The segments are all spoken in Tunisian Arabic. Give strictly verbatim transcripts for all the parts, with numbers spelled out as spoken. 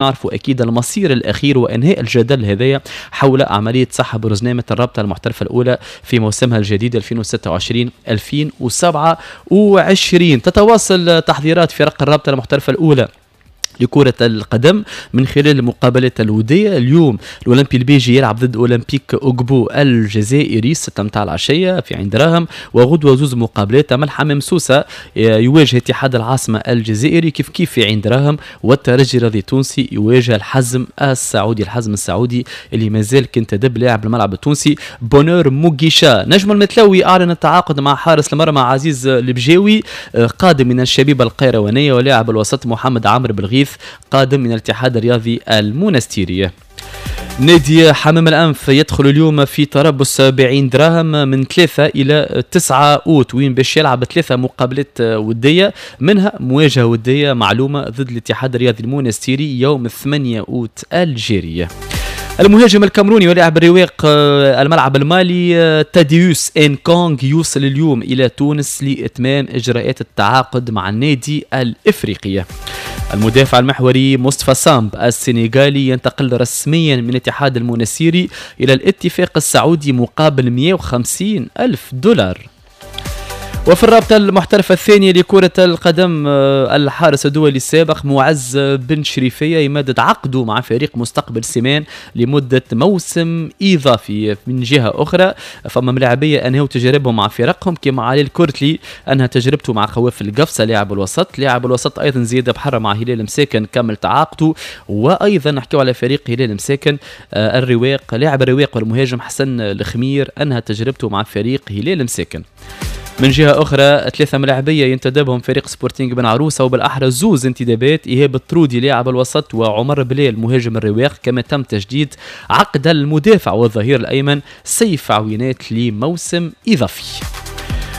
نعرفوا اكيد المصير الاخير وانهاء الجدل هذايا حول عملية سحب رزنامه الرابطة المحترفه الاولى في موسمها الجديد ألفين وستة وعشرين ألفين وسبعة وعشرين. تتواصل تحضيرات فرق الرابطة المحترفه الاولى لكرة القدم من خلال المقابلات الودية. اليوم الأولمبي البيجي يلعب ضد أولمبيك أوغبو الجزائري ستة متاع العشية في عين دراهم، وغدوة زوز مقابلات، أمل حمام سوسة يواجه اتحاد العاصمة الجزائري كيف كيف في عين دراهم، والترجي الرياضي التونسي يواجه الحزم السعودي، الحزم السعودي اللي مازال كنتدب لاعب الملعب التونسي بونور موغيشا. نجم المتلوي أعلن التعاقد مع حارس المرمى عزيز البجاوي قادم من الشبيبة القيروانية، ولاعب الوسط محمد عمرو بالغيث قادم من الاتحاد الرياضي المونستيري. نادي حمام الأنف يدخل اليوم في تربص بعين دراهم من ثلاثة إلى تسعة أوت، وين باش يلعب ثلاثة مقابلات ودية، منها مواجهة ودية معلومة ضد الاتحاد الرياضي المونستيري يوم ثمانية أوت الجارية. المهاجم الكاميروني ولاعب الرواق الملعب المالي تاديوس انكونغ يوصل اليوم إلى تونس لإتمام إجراءات التعاقد مع النادي الإفريقي. المدافع المحوري مصطفى سامب السنغالي ينتقل رسميا من الاتحاد المونسيري إلى الاتفاق السعودي مقابل مئة وخمسين ألف دولار. وفي الرابطة المحترفة الثانية لكرة القدم الحارس الدولي السابق معز بن شريفية يمدد عقده مع فريق مستقبل سيمان لمدة موسم إضافي. من جهة أخرى فما ملاعبية أنهوا تجاربهم مع فرقهم كما علي الكرتلي أنهى تجربته مع خوافل القفصة لاعب الوسط، لاعب الوسط أيضا زياد بحر مع هلال مساكن كمل تعاقده، وأيضا نحكيو على فريق هلال مساكن الرواق لاعب الرواق والمهاجم حسن الخمير أنهى تجربته مع فريق هلال مساكن. من جهة أخرى ثلاثة ملاعبية ينتدبهم فريق سبورتينغ بن عروسة، وبالأحرى زوز انتدابات، إيهاب الطرودي لاعب الوسط وعمر بلال مهاجم الرواق، كما تم تجديد عقد المدافع والظهير الأيمن سيف عوينات لموسم إضافي.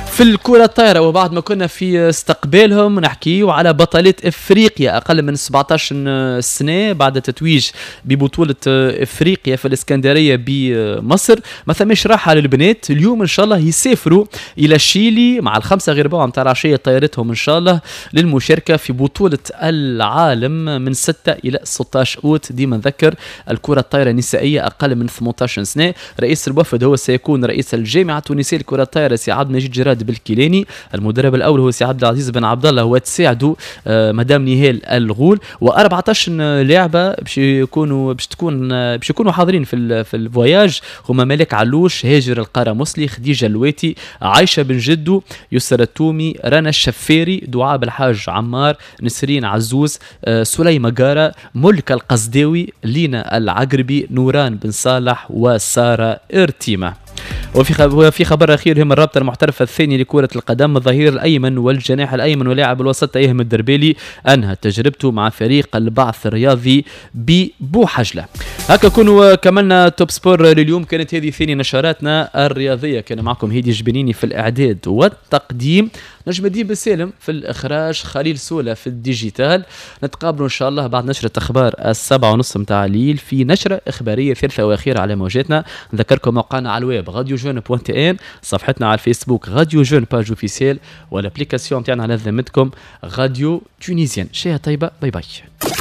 في الكرة الطايرة وبعد ما كنا في استقبالهم نحكيو على بطلات افريقيا اقل من سبعطاش سنة بعد تتويج ببطولة افريقيا في الاسكندرية بمصر، ما ثماش راحة للبنات. اليوم ان شاء الله يسافروا الى الشيلي مع الخمسة غير ربع نتاع العشية طيارتهم ان شاء الله للمشاركة في بطولة العالم من ستة الى ستطاش اوت. ديما نذكر الكرة الطايرة النسائية اقل من ثمنطاش سنة. رئيس الوفد هو سيكون رئيس الجامعة التونسية للكرة الطايرة سي عبد المجيد جراد الكيلاني، المدرب الاول هو سي عبد العزيز بن عبد الله وتساعده مدام نهال الغول، وأربعطاش لاعبه باش يكونوا باش تكون باش يكونوا حاضرين في في ال voyage، هما مالك علوش، هاجر القرمصلي، خديجة اللواتي، عايشه بن جدو، يسر التومي، رنا الشفاري، دعاء بالحاج عمار، نسرين عزوز، سليمة قاره، ملك القصداوي، لينا العقربي، نوران بن صالح، وسارة ارتيمه. وفي وفي خبر اخير هم الرابطة المحترفه الثانية لكرة القدم، الظهير الايمن والجناح الايمن ولاعب الوسط ايهم الدربالي انهى تجربته مع فريق البعث الرياضي ببوحجله. هكا كونوا كملنا Top Sport لليوم، كانت هذه ثاني نشراتنا الرياضية. كان معكم هيدي جبنيني في الاعداد والتقديم، نجم الدين بن سالم في الاخراج، خليل سوله في ال digital. نتقابلوا ان شاء الله بعد نشره اخبار السبعة ونص متاع الليل في نشره اخبارية ثالثة واخيره على موجاتنا. نذكركم موقعنا على الويب radio jeune point tn، صفحتنا على الفيسبوك radio jeune page officielle، وال application تاعنا على ذمتكم radio tunisienne. شهية طيبة، bye bye.